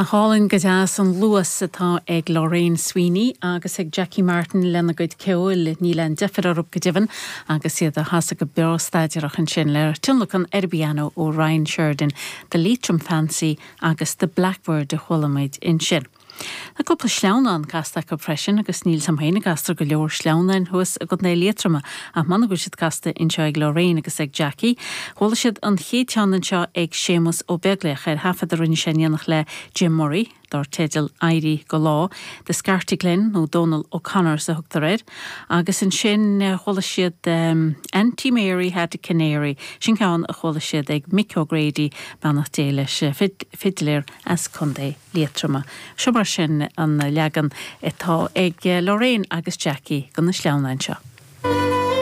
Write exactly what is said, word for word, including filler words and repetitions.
Nach álainn go deas an luas atá ag Lorraine Sweeney agus ag Jackie Martin lena gcuid ceoil níl aon deifir orthu go deimhin agus iad á chasadh go breá staidireach ansin le tionlacan ar an bpianó ó Ryan Sheridan, The Leitrim Fancy agus The Blackbird a chuala muid ansin. Tá cúpla sleamhnán casta acu freisin agus níl a fhios agam féin an gcastar go leor sleamhnáin thuas i gContae Liatroma ach m'anam go bhfuil siad casta anseo ag Lorraine agus ag Jackie. Chuala siad an chéad cheann anseo ag Séamus Ó Beaglaoich ar thaifead a rinne sé in éineacht le Jim Murray, dar teideal Éirí go Lá, The Scartaglin nó Donal O'Connors a thugtar air, agus ansin chuala siad um, Auntie Mary had a canary, sin ceann a chuala siad ag Mick O'Grady beannacht Dé leis fidléir as Contae Liatroma. Seo mar sin an leagan atá ag Lorraine agus Jackie de na sleamhnáin seo.